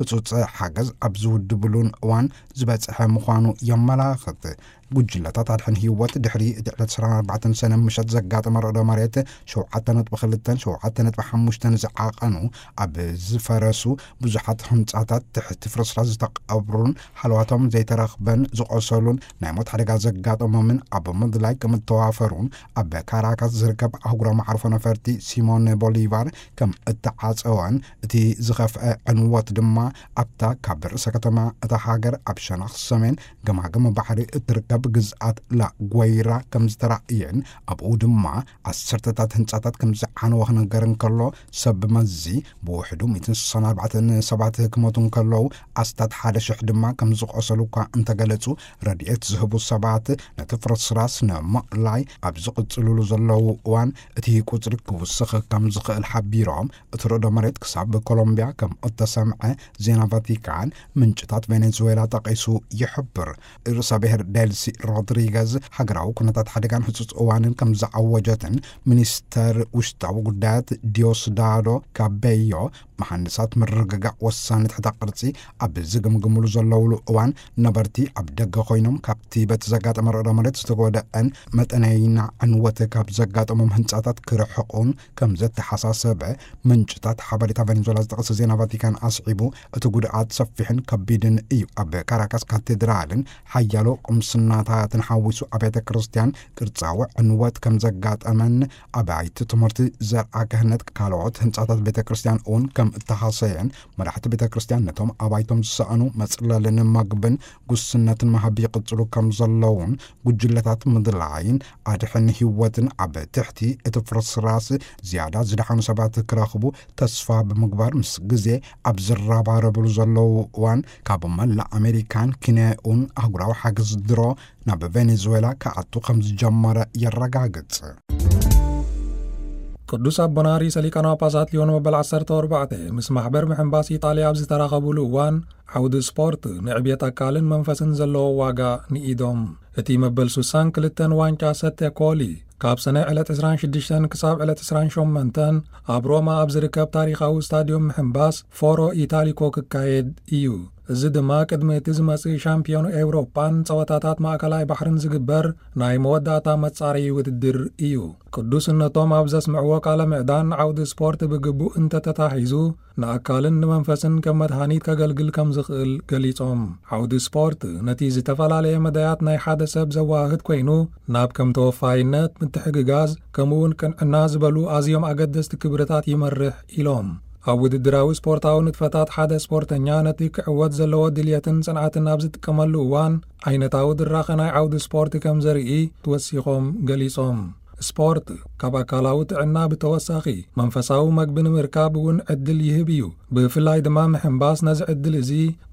ህጹጽ ሓገዝ ኣብ ዝውድብሉን እዋን ዝበጽሐ ምዃኑ የመላኽት። ጉጅለታት ኣድሕን ህይወት ድሕሪ እቲ ዕለት ዕስራን ኣርባዕተን ሰነ ምሸት ዘጋጠመ ርዕደ መሬት ሸውዓተ ነጥቢ ክልተን ሸውዓተ ነጥቢ ሓሙሽተን ዝዓቐኑ፣ ኣብ ዝፈረሱ ብዙሓት ህንጻታት ትሕቲ ፍርስራስ ዝተቐብሩን ሃለዋቶም ዘይተረኽበን ዝቖሰሉን ናይ ሞት ሓደጋ ዘጋጠሞምን ኣብ ምድላይ ከም እተዋፈሩን ኣብ ካራካስ ዝርከብ ኣህጉራዊ መዓርፎ ነፈርቲ ሲሞን ቦሊቫር ከም እተዓጸወን እቲ ዝኸፍአ ዕንወት ድማ ኣብታ ካብ ርእሰ ከተማ እታ ሃገር ኣብ ሸነኽ ሰሜን ገማግም ባሕሪ እትርከብ ግዝኣት ላጓይራ ከም ዝተራእየን ኣብኡ ድማ ዓሰርተታት ህንጻታት ከም ዝዓነወ ክነገር እንከሎ ሰብ መዚ ብውሕዱ ሚእትን ስሳን ኣርባዕተን ሰባት ክሞቱ እንከለዉ ኣስታት ሓደ ሽሕ ድማ ከም ዝቖሰሉ እኳ እንተገለጹ ረድኤት ዝህቡ ሰባት ነቲ ፍርስራስ ንምእላይ ኣብ ዝቕጽልሉ ዘለዉ እዋን እቲ ቁጽሪ ክውስኽ ከም ዝኽእል ሓቢሮም እቲ ርዕደ መሬት ክሳብ ኮሎምቢያ ከም እተሰምዐ ዜና ቫቲካን ምንጭታት ቬኔዙዌላ ጠቒሱ ይሕብር። ርእሰ ብሔር ዴልሲ ሮድሪገዝ ሃገራዊ ኩነታት ሓደጋን ህጹጽ እዋንን ከም ዝዓወጀትን ሚኒስተር ውሽጣዊ ጉዳያት ዲዮስዳዶ ካቤዮ መሃንድሳት ምርግጋዕ ወሳኒ ትሕተ ቅርጺ ኣብ ዝግምግምሉ ዘለውሉ እዋን ነበርቲ ኣብ ደገ ኮይኖም ካብቲ በቲ ዘጋጠመ ርዕደ መሬት ዝተጎደአን መጠነይና ዕንወት ካብ ዘጋጠሞም ህንጻታት ክርሕቑን ከም ዘተሓሳሰበ ምንጭታት ሓበሬታ ቬኔዙዌላ ዝጠቐሰ ዜና ቫቲካን ኣስዒቡ እቲ ጉድኣት ሰፊሕን ከቢድን እዩ። ኣብ ካራካስ ካቴድራልን ሓያሎ ቁምስናታትን ሓዊሱ ኣብያተ ክርስቲያን ቅርጻዊ ዕንወት ከም ዘጋጠመን ኣባይቲ ትምህርቲ ዘርኣ ክህነት ካልኦት ህንጻታት ቤተ ክርስቲያን እውን ከም እተሃሰየን መራሕቲ ቤተ ክርስቲያን ነቶም ኣባይቶም ዝሰኣኑ መጽለልን መግብን ጉስነትን መሃብ ይቕጽሉ ከም ዘለውን ጉጅለታት ምድላይን ኣድሕን ህይወትን ኣብ ትሕቲ እቲ ፍርስራስ ዝያዳ ዝደሓኑ ሰባት ክረኽቡ ተስፋ ብምግባር ምስ ግዜ ኣብ ዝረባረብሉ ዘለዉ እዋን ካብ መላእ ኣሜሪካን ኪንያኡን ኣህጉራዊ ሓገዝ ድሮ ናብ ቬኔዙዌላ ክኣቱ ከም ዝጀመረ የረጋግጽ። ቅዱስ ኣቦና ርእሰ ሊቃነ ጳጳሳት ሊዮን መበል ዓሰርተ ኣርባዕተ ምስ ማሕበር ምሕንባስ ኢጣልያ ኣብ ዝተራኸቡሉ እዋን ዓውዲ ስፖርት ንዕብየት ኣካልን መንፈስን ዘለዎ ዋጋ ንኢዶም። እቲ መበል ስሳን ክልተን ዋንጫ ሰተ ኮሊ ካብ ሰነ ዕለት ዕስራን ሽዱሽተን ክሳብ ዕለት ዕስራን ሸሞንተን ኣብ ሮማ ኣብ ዝርከብ ታሪኻዊ ስታድዮም ምሕንባስ ፎሮ ኢታሊኮ ክካየድ እዩ። እዚ ድማ ቅድሚ እቲ ዝመጽእ ሻምፒዮን ኤውሮጳን ጸወታታት ማእከላይ ባሕርን ዝግበር ናይ መወዳእታ መጻረዪ ውድድር እዩ። ቅዱስነቶም ኣብ ዘስምዕዎ ቃለ ምዕዳን ዓውዲ ስፖርት ብግቡእ እንተተታሒዙ ንኣካልን ንመንፈስን ከም መድሃኒት ከገልግል ከም ዝኽእል ገሊጾም። ዓውዲ ስፖርት ነቲ ዝተፈላለየ መዳያት ናይ ሓደ ሰብ ዘወሃህድ ኮይኑ ናብ ከም ተወፋይነት፣ ምትሕግጋዝ ከምኡውን ቅንዕና ዝበሉ ኣዝዮም ኣገደስቲ ክብርታት ይመርሕ ኢሎም። ኣብ ውድድራዊ ስፖርታዊ ንጥፈታት ሓደ ስፖርተኛ ነቲ ክዕወት ዘለዎ ድልየትን ጽንዓትን ኣብ ዝጥቀመሉ እዋን ዓይነታዊ ድራኸ ናይ ዓውዲ ስፖርት ከም ዘርኢ ወሲኾም ገሊጾም። ስፖርት ካብ ኣካላዊ ጥዕና ብተወሳኺ መንፈሳዊ መግቢ ንምርካብ እውን ዕድል ይህብ እዩ። ብፍላይ ድማ ምሕንባስ ነዚ ዕድል እዚ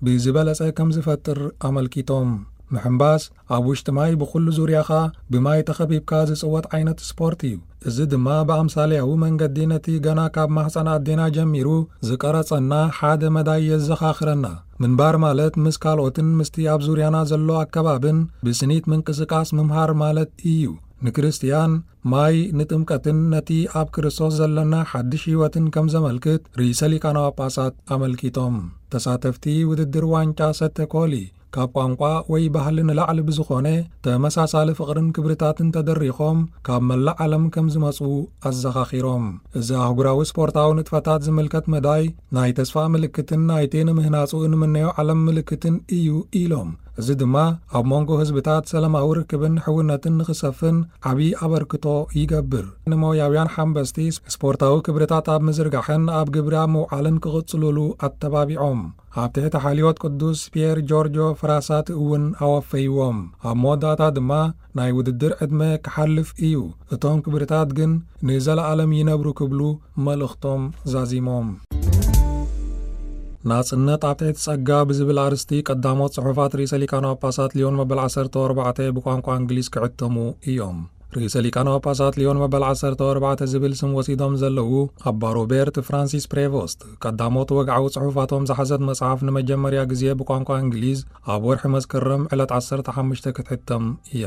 ብዝበለጸ ከም ዝፈጥር ኣመልኪቶም። ምሕንባስ ኣብ ውሽጢ ማይ ብኹሉ ዙርያኻ ብማይ ተኸቢብካ ዝጽወት ዓይነት ስፖርት እዩ። እዚ ድማ ብኣምሳልያዊ መንገዲ ነቲ ገና ካብ ማህጸን ኣዴና ጀሚሩ ዝቀረጸና ሓደ መዳይ የዘኻኽረና። ምንባር ማለት ምስ ካልኦትን ምስቲ ኣብ ዙርያና ዘሎ ኣከባብን ብስኒት ምንቅስቃስ ምምሃር ማለት እዩ። ንክርስትያን ማይ ንጥምቀትን ነቲ ኣብ ክርስቶስ ዘለና ሓድሽ ህይወትን ከም ዘመልክት ርእሰ ሊቃነ ጳጳሳት ኣመልኪቶም። ተሳተፍቲ ውድድር ዋንጫ ሰተ ኮሊ ካብ ቋንቋ ወይ ባህሊ ንላዕሊ ብዝኾነ ተመሳሳሊ ፍቕርን ክብርታትን ተደሪኾም ካብ መላእ ዓለም ከም ዝመጹ ኣዘኻኺሮም። እዚ ኣህጉራዊ ስፖርታዊ ንጥፈታት ዝምልከት መዳይ ናይ ተስፋ ምልክትን ናይቲ ንምህናጹ እንምነዮ ዓለም ምልክትን እዩ ኢሎም። እዚ ድማ ኣብ መንጎ ህዝብታት ሰላማዊ ርክብን ሕውነትን ንኽሰፍን ዓቢ ኣበርክቶ ይገብር። ንሞያውያን ሓንበስቲ ስፖርታዊ ክብርታት ኣብ ምዝርጋሕን ኣብ ግብሪ ኣብ ምውዓልን ክቕጽሉሉ ኣተባቢዖም። ኣብ ትሕቲ ሓልዮት ቅዱስ ፒየር ጆርጆ ፍራሳት እውን ኣወፈይዎም። ኣብ መወዳእታ ድማ ናይ ውድድር ዕድመ ክሓልፍ እዩ፣ እቶም ክብርታት ግን ንዘለኣለም ይነብሩ ክብሉ መልእኽቶም ዛዚሞም። ናጽነት ኣብ ትሕቲ ጸጋ ብዝብል ኣርስቲ ቀዳሞት ጽሑፋት ርእሰ ሊቃነ ጳጳሳት ሊዮን መበል ዓሰርተ ኣርባዕተ ብቋንቋ እንግሊዝ ክዕተሙ እዮም። ርእሰ ሊቃነ ጳጳሳት ሊዮን መበል ዓሰርተ ኣርባዕተ ዝብል ስም ወሲዶም ዘለዉ ኣባ ሮቤርት ፍራንሲስ ፕሬቮስት ቀዳሞት ወግዓዊ ጽሑፋቶም ዝሓዘት መጽሓፍ ንመጀመርያ ግዜ ብቋንቋ እንግሊዝ ኣብ ወርሒ መስከረም ዕለት ዓሰርተ ሓሙሽተ ክትሕተም እያ።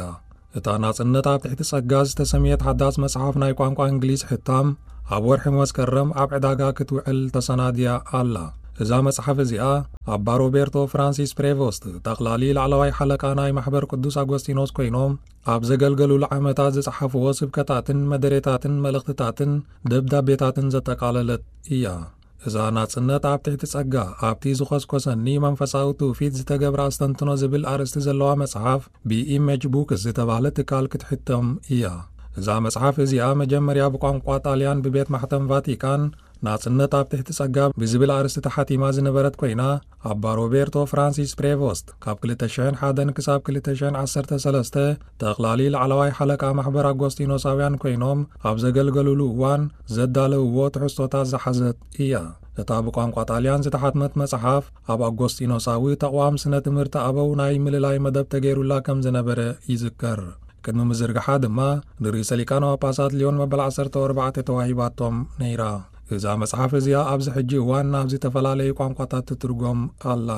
እታ ናጽነት ኣብ ትሕቲ ጸጋ ዝተሰምየት ሓዳስ መጽሓፍ ናይ ቋንቋ እንግሊዝ ሕታም ኣብ ወርሒ መስከረም ኣብ ዕዳጋ ክትውዕል ተሰናድያ ኣላ። እዛ መጽሓፍ እዚኣ ኣባ ሮቤርቶ ፍራንሲስ ፕሬቮስት፣ ጠቕላሊ ላዕለዋይ ሓለቃ ናይ ማሕበር ቅዱስ ኣጎስጢኖስ ኮይኖም፣ ኣብ ዘገልገሉሉ ዓመታት ዝጸሓፍዎ ስብከታትን መደሬታትን መልእኽትታትን ደብዳቤታትን ዘጠቓለለት እያ። እዛ ናጽነት ኣብ ትሕቲ ጸጋ፣ ኣብቲ ዝኾስኮሰኒ መንፈሳዊ ትውፊት ዝተገብረ ኣስተንትኖ ዝብል ኣርእስቲ ዘለዋ መጽሓፍ ብኢሜጅ ቡክስ ዝተባህለ ትካል ክትሕተም እያ። እዛ መጽሓፍ እዚኣ መጀመርያ ብቋንቋ ጣልያን ብቤት ማሕተም ቫቲካን ናጽነት ኣብ ትሕቲ ጸጋ ብዝብል ኣርእስቲ ተሓቲማ ዝነበረት ኮይና፣ ኣባ ሮቤርቶ ፍራንሲስ ፕሬቮስት ካብ ክልተ ሽሕን ሓደን ክሳብ ክልተ ሽሕን ዓሰርተ ሰለስተ ጠቕላሊ ላዕለዋይ ሓለቃ ማሕበር ኣጎስጢኖሳውያን ኮይኖም ኣብ ዘገልገሉሉ እዋን ዘዳለውዎ ትሕዝቶታት ዝሓዘት እያ። እታ ብቋንቋ ጣልያን ዝተሓትመት መጽሓፍ፣ ኣብ ኣጎስጢኖሳዊ ተቕዋም ስነ ትምህርቲ ኣበው ናይ ምልላይ መደብ ተገይሩላ ከም ዝነበረ ይዝከር። ቅድሚ ምዝርግሓ ድማ ንርእሰ ሊቃነ ጳጳሳት ሊዮን መበል ዓሰርተ ኣርባዕተ ተዋሂባቶም ነይራ። እዛ መጽሓፍ እዚኣ ኣብዚ ሕጂ እዋን ናብ ዝተፈላለዩ ቋንቋታት ትትርጎም ኣላ።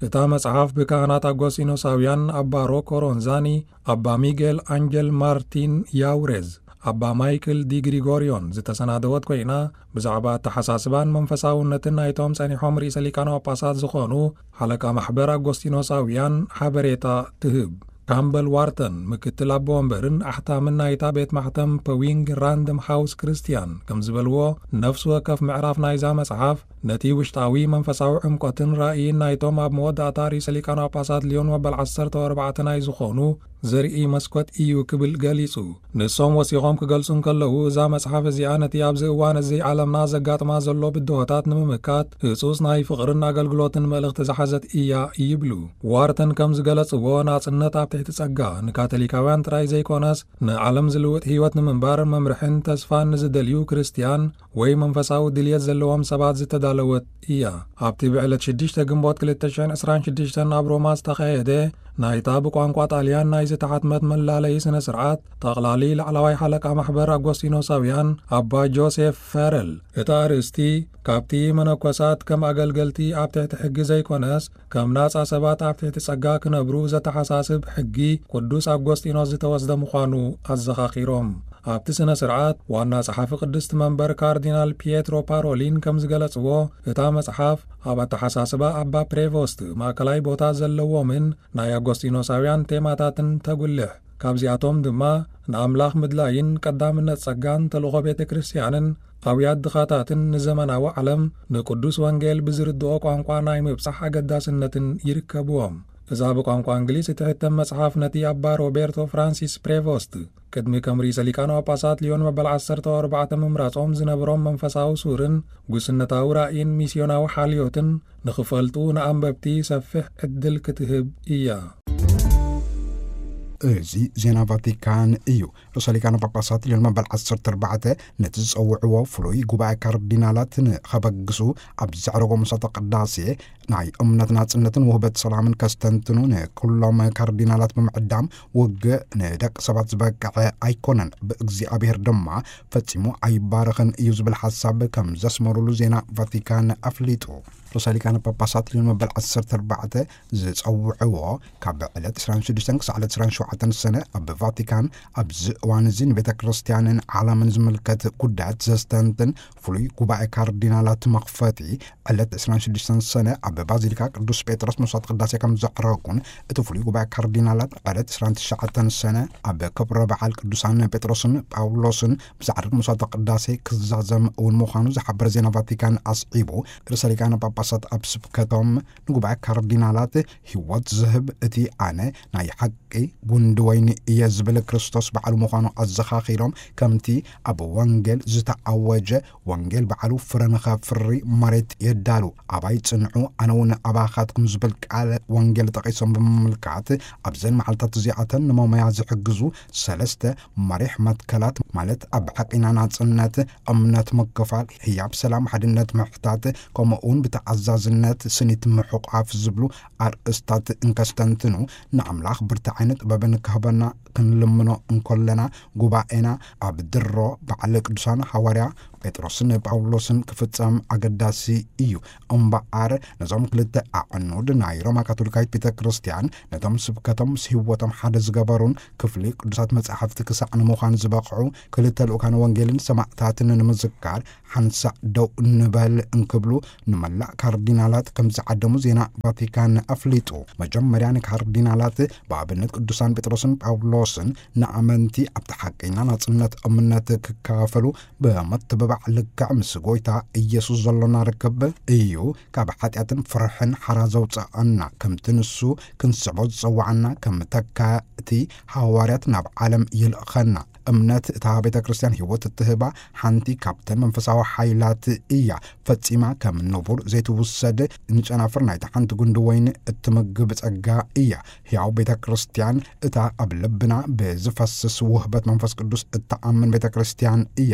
እታ መጽሓፍ ብካህናት ኣጎስጢኖሳውያን ኣባ ሮኮ ሮንዛኒ፣ ኣባ ሚጌል ኣንጀል ማርቲን ያውሬዝ፣ ኣባ ማይክል ዲ ግሪጎርዮን ዝተሰናደወት ኮይና፣ ብዛዕባ ኣተሓሳስባን መንፈሳውነትን ናይቶም ጸኒሖም ርእሰ ሊቃነ ጳጳሳት ዝኾኑ ሓለቃ ማሕበር ኣጎስጢኖሳውያን ሓበሬታ ትህብ። ካምበል ዋርተን፣ ምክትል ኣቦ ወንበርን ኣሕታምን ናይታ ቤት ማሕተም ፐዊንግ ራንደም ሃውስ ክርስቲያን፣ ከም ዝበልዎ፣ ነፍሲ ወከፍ ምዕራፍ ናይዛ መጽሓፍ ነቲ ውሽጣዊ መንፈሳዊ ዕምቆትን ራእይን ናይቶም ኣብ መወዳእታ ርእሰ ሊቃነ ጳጳሳት ሊዮን መበል ዓሰርተ ኣርባዕተ ናይ ዝኾኑ ዘርኢ መስኮት እዩ ክብል ገሊጹ። ንሶም ወሲኾም ክገልጹ እንከለዉ፣ እዛ መጽሓፍ እዚኣ ነቲ ኣብዚ እዋን እዚ ዓለምና ዘጋጥማ ዘሎ ብድሆታት ንምምካት ህጹጽ ናይ ፍቕርን ኣገልግሎትን መልእኽቲ ዝሓዘት እያ ይብሉ። ዋርተን ከም ዝገለጽዎ፣ ናጽነት ኣብ ትሕቲ ጸጋ ንካቶሊካውያን ጥራይ ዘይኮነስ፣ ንዓለም ዝልውጥ ህይወት ንምንባር መምርሕን ተስፋን ንዝደልዩ ክርስትያን ወይ መንፈሳዊ ድልየት ዘለዎም ሰባት ዝተዳለወት እያ። ኣብቲ ብዕለት ሽዱሽተ ግንቦት ክልተ ሽሕን ዕስራን ሽዱሽተን ኣብ ሮማ ዝተኻየደ ናይታ ብቋንቋ ጣልያን ናይ ዝተሓትመት መላለዪ ስነ ስርዓት፣ ጠቕላሊ ላዕለዋይ ሓለቃ ማሕበር ኣጎስጢኖሳውያን ኣባ ጆሴፍ ፈረል፣ እቲ ኣርእስቲ ካብቲ መነኮሳት ከም ኣገልገልቲ ኣብ ትሕቲ ሕጊ ዘይኮነስ፣ ከም ናጻ ሰባት ኣብ ትሕቲ ጸጋ ክነብሩ ዘተሓሳስብ ሕጊ ቅዱስ ኣጎስጢኖስ ዝተወስደ ምዃኑ ኣዘኻኺሮም። ኣብቲ ስነ ስርዓት፣ ዋና ጸሓፊ ቅድስቲ መንበር ካርዲናል ፒየትሮ ፓሮሊን ከም ዝገለጽዎ፣ እታ መጽሓፍ ኣብ ኣተሓሳስባ ኣባ ፕሬቮስት ማእከላይ ቦታ ዘለዎምን ናይ ኣጎስጢኖሳውያን ቴማታትን ተጉልሕ። ካብዚኣቶም ድማ ንኣምላኽ ምድላይን ቀዳምነት ጸጋን ተልእኾ ቤተ ክርስቲያንን ኣውያት ድኻታትን ንዘመናዊ ዓለም ንቅዱስ ወንጌል ብዝርድኦ ቋንቋ ናይ ምብጻሕ ኣገዳስነትን ይርከብዎም። እዛ ብቋንቋ እንግሊዝ እትሕተም መጽሓፍ ነቲ ኣባ ሮቤርቶ ፍራንሲስ ፕሬቮስት ቅድሚ ከም ርእሰ ሊቃነ ጳጳሳት ሊዮን መበል ዓሰርተ ኣርባዕተ ምምራጾም ዝነበሮም መንፈሳዊ ሱርን ጉስነታዊ ራእይን ሚስዮናዊ ሓልዮትን ንኽፈልጡ ንኣንበብቲ ሰፊሕ ዕድል ክትህብ እያ። እዚ ዜና ቫቲካን እዩ። ርእሰ ሊቃነ ጳጳሳት ሊዮን መበል ዓሰርተ ኣርባዕተ ነቲ ዝጸውዕዎ ፍሉይ ጉባኤ ካርዲናላት ንኸበግሱ ኣብ ዘዕረጎ ምሳተ ቅዳሴ ናይ እምነት ናጽነትን ውህበት ሰላምን ከስተንትኑ ንኩሎም ካርዲናላት ብምዕዳም፣ ውግእ ንደቂ ሰባት ዝበቅዐ ኣይኮነን፣ ብእግዚኣብሔር ድማ ፈጺሙ ኣይባረኽን እዩ ዝብል ሓሳብ ከም ዘስመሩሉ ዜና ቫቲካን ኣፍሊጡ። ርእሰ ሊቃነ ጳጳሳት ሊዮን መበል ዓሰርተ ኣርባዕተ ዝጸውዕዎ ካብ ዕለት ዕስራን ሽዱሽተን ክሳዕ ዕለት ዕስራን ሸውዓተን ሰነ ኣብ ቫቲካን ኣብዚ እዋን እዚ ንቤተ ክርስቲያንን ዓለምን ዝምልከት ጉዳያት ዘስተንትን ፍሉይ ጉባኤ ካርዲናላት መኽፈቲ ዕለት ዕስራን ሽዱሽተን ሰነ ኣብ ባዚሊካ ቅዱስ ጴጥሮስ መስዋዕት ቅዳሴ ከም ዘዕረጉን፣ እቲ ፍሉይ ጉባኤ ካርዲናላት ዕለት ዕስራን ትሽዓተን ሰነ ኣብ ክብረ በዓል ቅዱሳን ጴጥሮስን ጳውሎስን ብዘዕርግ መስዋዕት ቅዳሴ ክዛዘም እውን ምዃኑ ዝሓበረ ዜና ቫቲካን ኣስዒቡ፣ ርእሰ ሊቃነ ጳጳሳት ኣብ ስብከቶም ንጉባኤ ካርዲናላት ህይወት ዝህብ እቲ ኣነ ናይ ሓቂ ጉንዲ ወይኒ እየ ዝብል ክርስቶስ ባዕሉ ምዃኑ ኣዘኻኺሮም፣ ከምቲ ኣብ ወንጌል ዝተኣወጀ፣ ወንጌል ባዕሉ ፍረ ንኸፍሪ መሬት የዳሉ፣ ኣባይ ጽንዑ፣ ኣነ እውን ኣባኻትኩም ዝብል ቃል ወንጌል ጠቒሶም ብምምልካት፣ ኣብዘን መዓልታት እዚኣተን ንመሞያ ዝሕግዙ ሰለስተ መሪሕ መትከላት፣ ማለት ኣብ ሓቂና ናጽነት፣ እምነት ምክፋል፣ ህያብ ሰላም፣ ሓድነት ምሕታት፣ ከምኡ እውን ብተኣዛዝነት ስኒት ምሕቋፍ ዝብሉ ኣርእስታት እንከስተንትኑ፣ ንኣምላኽ ብርታዐን ጥበብን ክህበና ክንልምኖ እንኮለና፣ ጉባኤና ኣብ ድሮ በዓል ቅዱሳን ሃዋርያ ጴጥሮስን ጳውሎስን ክፍጸም ኣገዳሲ እዩ። እምበኣር፣ ነዞም ክልተ ኣዕኑድ ናይ ሮማ ካቶሊካዊት ቤተ ክርስቲያን፣ ነቶም ስብከቶም ምስ ህይወቶም ሓደ ዝገበሩን ክፍሊ ቅዱሳት መጻሕፍቲ ክሳዕ ንምዃን ዝበቕዑ ክልተ ልኡካን ወንጌልን ሰማዕታትን ንምዝካር ሓንሳእ ደው ንበል እንክብሉ ንመላእ ካርዲናላት ከም ዝዓደሙ ዜና ቫቲካን ኣፍሊጡ። መጀመርያ ንካርዲናላት ብኣብነት ቅዱሳን ጴጥሮስን ጳውሎስን ንኣመንቲ ኣብቲ ሓቀኛ ናጽነት እምነት ክካፈሉ ብምትብባዕ ልክዕ ምስ ጎይታ ኢየሱስ ዘሎና ርክብ እዩ ካብ ሓጢኣትን ፍርሕን ሓራ ዘውፅኣና፣ ከምቲ ንሱ ክንስዕቦ ዝጸዋዓና ከም ተካእቲ ሃዋርያት ናብ ዓለም ይልእኸና። እምነት እታ ቤተ ክርስቲያን ህይወት እትህባ ሓንቲ ካብተን መንፈሳዊ ሓይላት እያ። ፈጺማ ከም ንቡር ዘይትውሰድ፣ ንጨናፍር ናይታ ሓንቲ ጉንዲ ወይኒ እትምግብ ጸጋ እያ። ሕያው ቤተ ክርስቲያን እታ ኣብ ልብና ብዝፈስስ ውህበት መንፈስ ቅዱስ እትኣምን ቤተ ክርስቲያን እያ።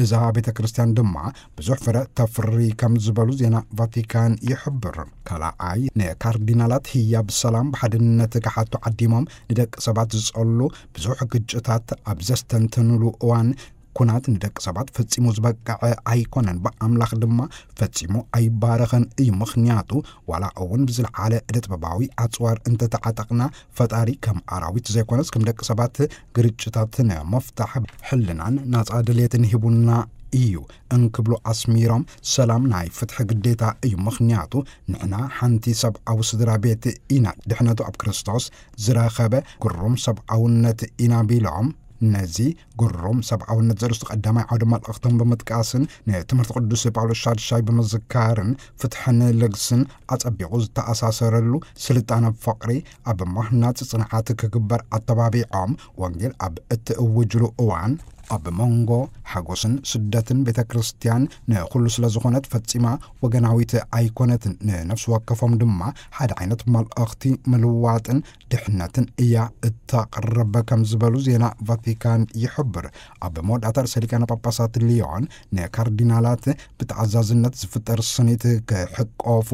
እዛ ቤተ ክርስቲያን ድማ ብዙሕ ፍረ ተፍሪ ከም ዝበሉ ዜና ቫቲካን ይሕብር። ካልኣይ፣ ንካርዲናላት ህያብ ሰላም ብሓድነት ክሓቱ ዓዲሞም ንደቂ ሰባት ዝጸሉ ብዙሕ ግጭታት ኣብ ዘስተንትኑሉ እዋን፣ ኩናት ንደቂ ሰባት ፈጺሙ ዝበቅዐ ኣይኮነን፣ ብኣምላኽ ድማ ፈጺሙ ኣይባረኸን እዩ። ምኽንያቱ፣ ዋላ እውን ብዝለዓለ እደ ጥበባዊ ኣጽዋር እንተተዓጠቕና፣ ፈጣሪ ከም ኣራዊት ዘይኮነስ ከም ደቂ ሰባት ግርጭታት ንምፍታሕ ሕልናን ናጻ ድሌትን ሂቡና እዩ እንክብሉ ኣስሚሮም፣ ሰላም ናይ ፍትሒ ግዴታ እዩ። ምኽንያቱ፣ ንሕና ሓንቲ ሰብኣዊ ስድራ ቤት ኢና። ድሕነቱ ኣብ ክርስቶስ ዝረኸበ ግሩም ሰብኣውነት ኢና ቢሎም፣ ነዚ ግሩም ሰብኣውነት ዘርእስቱ ቀዳማይ ዓውደ መልእኽቶም ብምጥቃስን ንትምህርቲ ቅዱስ ጳውሎስ ሻድሻይ ብምዝካርን፣ ፍትሕን ልግስን ኣጸቢቑ ዝተኣሳሰረሉ ስልጣነ ፍቕሪ ኣብ ምህናጽ ጽንዓት ክግበር ኣተባቢዖም፣ ወንጌል ኣብ እትእውጅሉ እዋን፣ ኣብ መንጎ ሓጎስን ስደትን ቤተ ክርስቲያን ንኹሉ ስለ ዝኾነት ፈጺማ ወገናዊት ኣይኮነትን። ንነፍሲ ወከፎም ድማ ሓደ ዓይነት መልእኽቲ ምልዋጥን ድሕነትን እያ እተቕርብ ከም ዝበሉ ዜና ቫቲካን ይሕብር። ኣብ መወዳእታ ርእሰ ሊቃነ ጳጳሳት ሊዮን ንካርዲናላት ብተኣዛዝነት ዝፍጠር ስኒት ክሕቆፉ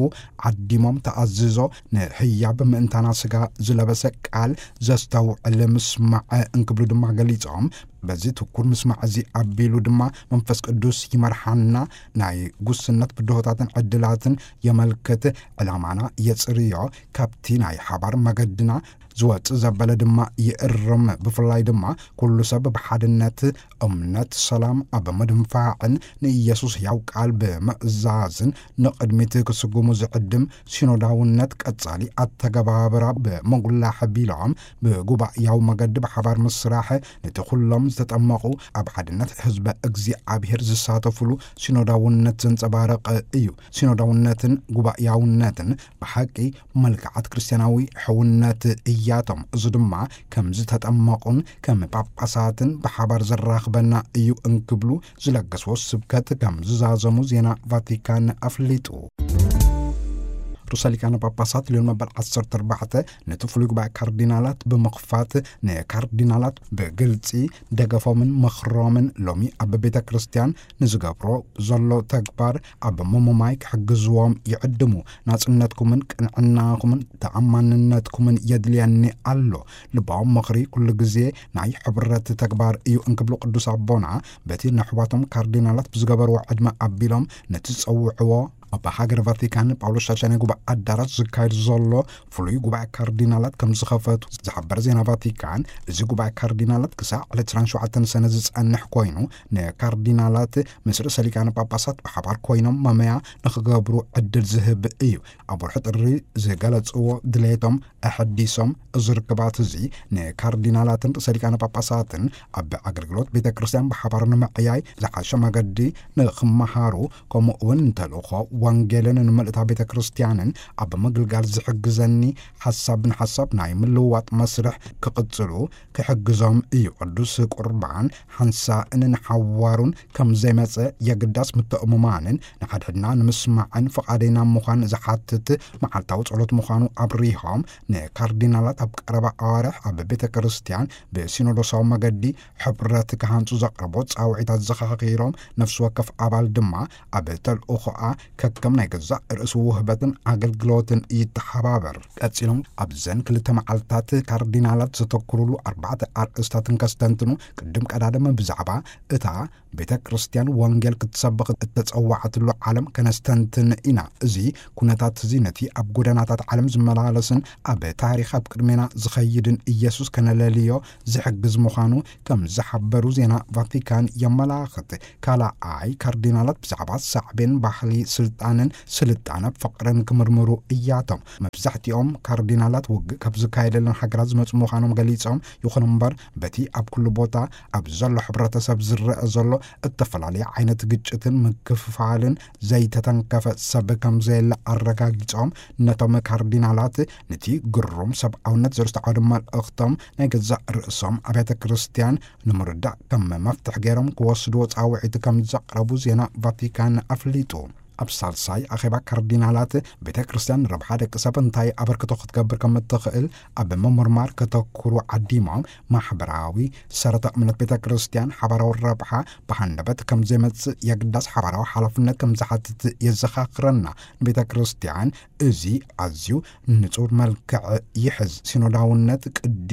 ዓዲሞም፣ ተኣዝዞ ንህያብ ምእንታና ስጋ ዝለበሰ ቃል ዘስተውዕል ምስማዕ እንክብሉ ድማ ገሊጾም፣ በዚ ትኩር ምስማዕ እዚ ኣቢሉ ድማ መንፈስ ቅዱስ ይመርሓና፣ ናይ ጉስነት ብድሆታትን ዕድላትን የመልክት፣ ዕላማና የጽርዮ፣ ካብቲ ናይ ሓባር መገድና ዝወጽእ ዘበለ ድማ ይእርም። ብፍላይ ድማ ኩሉ ሰብ ብሓድነት እምነት ሰላም ኣብ ምድንፋዕን ንኢየሱስ ሕያው ቃል ብምእዛዝን ንቕድሚት ክስጉሙ ዝዕድም ሲኖዳውነት ቀጻሊ ኣተገባብራ ብምጉላሕ ቢሎም፣ ብጉባኤያዊ መገዲ ብሓባር ምስራሕ ነቲ ኩሎም ዝተጠመቑ ኣብ ሓድነት ህዝበ እግዚኣብሔር ዝሳተፉሉ ሲኖዳውነት ዘንጸባርቕ እዩ። ሲኖዳውነትን ጉባኤያውነትን ብሓቂ መልክዓት ክርስትያናዊ ሕውነት እያቶም። እዚ ድማ ከም ዝተጠመቑን ከም ጳጳሳትን ብሓባር ዘራኽበና እዩ እንክብሉ ዝለገስዎ ስብከት ከም ዝዛዘሙ ዜና ቫቲካን ኣፍሊጡ። ርእሰ ሊቃነ ጳጳሳት ሊዮን መበል ዓሰርተ ኣርባዕተ ነቲ ፍሉይ ጉባኤ ካርዲናላት ብምኽፋት፣ ንካርዲናላት ብግልጺ ደገፎምን ምኽሮምን ሎሚ ኣብ ቤተ ክርስቲያን ንዝገብሮ ዘሎ ተግባር ኣብ ምሙማይ ክሕግዝዎም ይዕድሙ። ናጽነትኩምን ቅንዕናኹምን ተኣማንነትኩምን የድልየኒ ኣሎ። ልባዊ ምኽሪ ኩሉ ግዜ ናይ ሕብረት ተግባር እዩ እንክብሉ ቅዱስ ኣቦና፣ በቲ ነሕዋቶም ካርዲናላት ብዝገበርዎ ዕድመ ኣቢሎም ነቲ ዝጸውዕዎ ኣብ ሃገር ቫቲካን ጳውሎስ ሻድሻይ ጉባኤ ኣዳራሽ ዝካየድ ዘሎ ፍሉይ ጉባኤ ካርዲናላት ከም ዝኸፈቱ ዝሓበረ ዜና ቫቲካን፣ እዚ ጉባኤ ካርዲናላት ክሳዕ ዕለት ዕስራን ሸውዓተን ሰነ ዝጸንሕ ኮይኑ፣ ንካርዲናላት ምስ ርእሰ ሊቃነ ጳጳሳት ብሓባር ኮይኖም መመያ ንኽገብሩ ዕድል ዝህብ እዩ። ኣብ ወርሒ ጥሪ ዝገለጽዎ ድሌቶም ኣሐዲሶም፣ እዚ ርክባት እዚ ንካርዲናላትን ርእሰ ሊቃነ ጳጳሳትን ኣብ ኣገልግሎት ቤተ ክርስቲያን ብሓባር ንምዕያይ ዝሓሸ መገዲ ንኽመሃሩ፣ ከምኡ እውን ንተልእኾ ወንጌልን ንምልእታ ቤተ ክርስቲያንን ኣብ ምግልጋል ዝሕግዘኒ ሓሳብ ንሓሳብ ናይ ምልውዋጥ መስርሕ ክቕጽሉ ክሕግዞም እዩ። ቅዱስ ቁርባን ሓንሳእን ንሓዋሩን ከም ዘይመጸ የግዳስ ምትእምማንን ንሓድሕድና ንምስማዕን ፍቓደይና ምዃን ዝሓትት መዓልታዊ ጸሎት ምዃኑ ኣብሪሆም፣ ንካርዲናላት ኣብ ቀረባ ኣዋርሕ ኣብ ቤተ ክርስቲያን ብሲኖዶሳዊ መገዲ ሕብረት ክሃንጹ ዘቕረቦ ጻውዒታት ዘኻኺሮም፣ ነፍሲ ወከፍ ኣባል ድማ ኣብ ተልእኾኣ ከም ናይ ገዛእ ርእሱ ውህበትን ኣገልግሎትን ይተሓባበር። ቀጺሎም ኣብዘን ክልተ መዓልታት ካርዲናላት ዘተኩሩሉ ኣርባዕተ ኣርእስታትን ከስተንትኑ፣ ቅድም ቀዳድም ብዛዕባ እታ ቤተ ክርስቲያን ወንጌል ክትሰብኽ እተጸዋዕትሉ ዓለም ከነስተንትን ኢና። እዚ ኩነታት እዚ ነቲ ኣብ ጎደናታት ዓለም ዝመላለስን ኣብ ታሪኽ ኣብ ቅድሜና ዝኸይድን ኢየሱስ ከነለልዮ ዝሕግዝ ምዃኑ ከም ዝሓበሩ ዜና ቫቲካን የመላኽት። ካልኣይ፣ ካርዲናላት ብዛዕባ ሳዕቤን ባህሊ፣ ስልጣንን ስልጣነ ፍቕርን ክምርምሩ እያቶም። መብዛሕትኦም ካርዲናላት ውግእ ካብ ዝካየደለን ሃገራት ዝመጹ ምዃኖም ገሊጾም፣ ይኹን እምበር በቲ ኣብ ኩሉ ቦታ ኣብ ዘሎ ሕብረተሰብ ዝረአ ዘሎ እተፈላለየ ዓይነት ግጭትን ምክፍፋልን ዘይተተንከፈ ሰብ ከም ዘየለ ኣረጋጊጾም፣ ነቶም ካርዲናላት ነቲ ግሩም ሰብኣውነት ዘስተዓወደ መልእኽቶም ናይ ገዛእ ርእሶም ኣብያተ ክርስቲያን ንምርዳእ ከም መፍትሒ ገይሮም ክወስድዎ ጻውዒት ከም ዘቕረቡ ዜና ቫቲካን ኣፍሊጡ። ኣብ ሳልሳይ ኣኼባ ካርዲናላት፣ ቤተ ክርስቲያን ንረብሓ ደቂ ሰብ እንታይ ኣበርክቶ ክትገብር ከም እትኽእል ኣብ ምምርማር ከተኩሩ ዓዲሞም፣ ማሕበራዊ ሰረተ እምነት ቤተ ክርስቲያን ሓባራዊ ረብሓ ብሃንደበት ከም ዘይመጽእ የግዳስ ሓባራዊ ሓላፍነት ከም ዝሓትት የዘኻኽረና። ቤተ ክርስቲያን እዚ ኣዝዩ ንጹር መልክዕ ይሕዝ። ሲኖዳውነት ቅዲ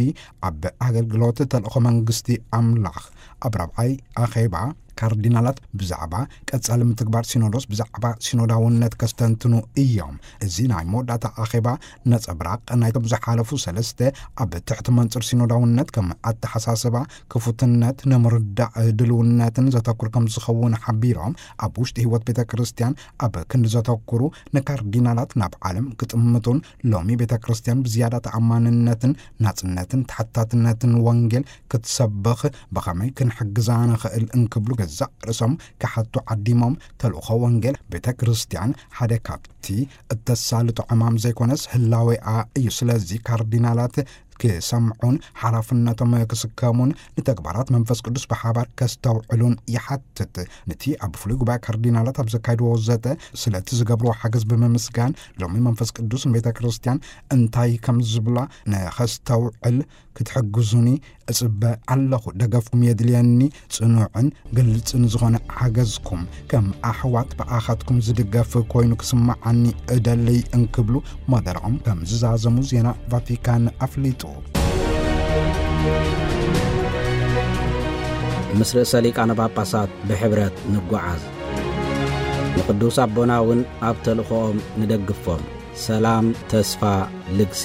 ኣብ ኣገልግሎት ተልእኾ መንግስቲ ኣምላኽ። ኣብ ራብዓይ ኣኼባ ካርዲናላት ብዛዕባ ቀጻሊ ምትግባር ሲኖዶስ፣ ብዛዕባ ሲኖዳውነት ከስተንትኑ እዮም። እዚ ናይ መወዳእታ ኣኼባ ነጸብራቕ ናይቶም ዝሓለፉ ሰለስተ ኣብ ትሕቲ መንጽር ሲኖዳውነት ከም ኣተሓሳስባ፣ ክፉትነት፣ ንምርዳእ ድልውነትን ዘተኩር ከም ዝኸውን ሓቢሮም፣ ኣብ ውሽጢ ህይወት ቤተ ክርስቲያን ኣብ ክንዲ ዘተኩሩ ንካርዲናላት ናብ ዓለም ክጥምቱን ሎሚ ቤተ ክርስቲያን ብዝያዳ ተኣማንነትን ናጽነትን ተሓታትነትን ወንጌል ክትሰብኽ ብኸመይ ክንሕግዛ ንኽእል እንክብሉ ገዛእ ርእሶም ክሓቱ ዓዲሞም፣ ተልእኾ ወንጌል ቤተ ክርስቲያን ሓደ ካብቲ እተሳልጦ ዕማም ዘይኮነስ ህላዌኣ እዩ። ስለዚ ካርዲናላት ክሰምዑን ሓላፍነቶም ክስከሙን ንተግባራት መንፈስ ቅዱስ ብሓባር ከስተውዕሉን ይሓትት። ነቲ ኣብ ፍሉይ ጉባኤ ካርዲናላት ኣብ ዘካየድዎ ዘተ ስለቲ ዝገብርዎ ሓገዝ ብምምስጋን፣ ሎሚ መንፈስ ቅዱስ ንቤተ ክርስቲያን እንታይ ከም ዝብላ ንኸስተውዕል ክትሕግዙኒ እጽበ ኣለኹ። ደገፍኩም የድልየኒ። ጽኑዕን ግልጽን ዝኾነ ሓገዝኩም፣ ከም ኣሕዋት ብኣኻትኩም ዝድገፍ ኮይኑ ክስምዓኒ እደልይ እንክብሉ መደረኦም ከም ዝዛዘሙ ዜና ቫቲካን ኣፍሊጡ። ምስ ርእሰ ሊቃነ ጳጳሳት ብሕብረት ንጓዓዝ። ንቅዱስ ኣቦና እውን ኣብ ተልእኾኦም ንደግፎም። ሰላም፣ ተስፋ፣ ልግሲ።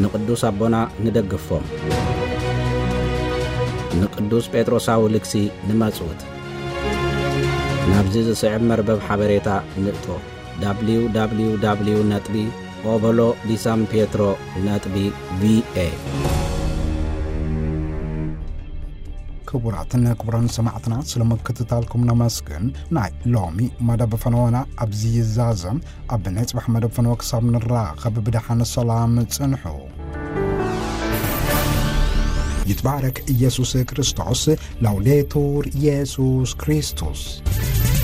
ንቅዱስ ኣቦና ንደግፎም። ንቅዱስ ጴጥሮሳዊ ልግሲ ንመጽውት። ናብዚ ዝስዕብ መርበብ ሓበሬታ ንእቶ። ደብሊው ደብሊው ደብሊው ነጥቢ ኦቦሎ ዲ ሳን ፔትሮ ነጥቢ ቪ ኤ። ክቡራትን ክቡራን ሰማዕትና፣ ስለ ምክትታልኩም ነመስግን። ናይ ሎሚ መደብ ፈነወና ኣብዚ ይዛዘም። ኣብ ናይ ጽባሕ መደብ ፈነወ ክሳብ ንራኸብ፣ ብደሓን ሰላም ጽንሑ። ይትባረክ ኢየሱስ ክርስቶስ። ላውዴቱር ኢየሱስ ክርስቶስ።